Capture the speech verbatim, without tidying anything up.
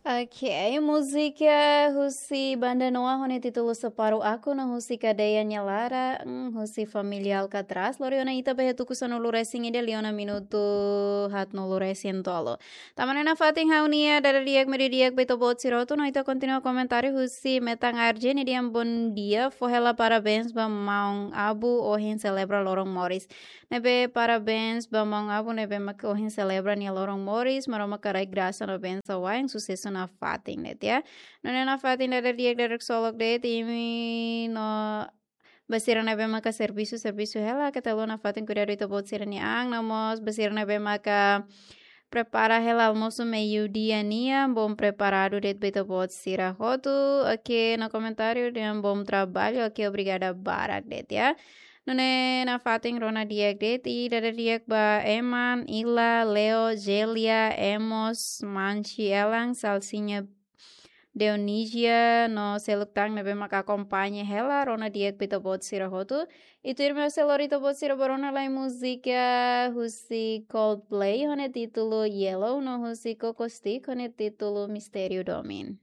Ok, múzika husi Banda Noa ho nia títulu Separuh Aku no husi kadeia nia laran, mm, husi família Alcatraz. Lori ona ita ba iha tuku sanulu-resin-ida, liu ona minutu haatnulu-resin-tolu. Tama ona iha fatin ha'u-nia dada di'ak media di'ak ba ita-boot sira hotu no ita kontinua komentáriu husi Metan Arjeni dehan bom dia, fó hela parabéns ba maun Abu ohin selebra loron moris. Ne'ebé parabéns ba maun Abu ne'ebé maka ohin selebra nia loron moris, Maromak haraik grasa no bensaun wa'in, susesu nafatin de'it ya. Nune'e nafatin dada di'ak dada ksolok de'it imi no ba sira ne'ebé maka servisu, servisu hela, keta haluha nafatin kuidadu ita-boot sira-nia an, no mós ba sira ne'ebé maka prepara hela almosu meiudia nian, bom preparadu de'it ba ita-boot sira hotu. Ok, no komentáriu dehan bom trabalho, ok, obrigada barak de'it ya. Nune'e nafatin rona di'ak de'it, i dada di'ak ba Eman, Ila, Leo, Jelia, Emos, Manchi, Elan, Salsiña, Dionisia, no seluk tan ne'ebé maka akompaña hela, rona di'ak ba ita-boot sira hotu. I tuirmai ha'u sei lori ita-boot sira ba rona lai múzika husi Coldplay ho nia títulu Yellow, no husi Cocostick ho nia títulu Mistériu Domin.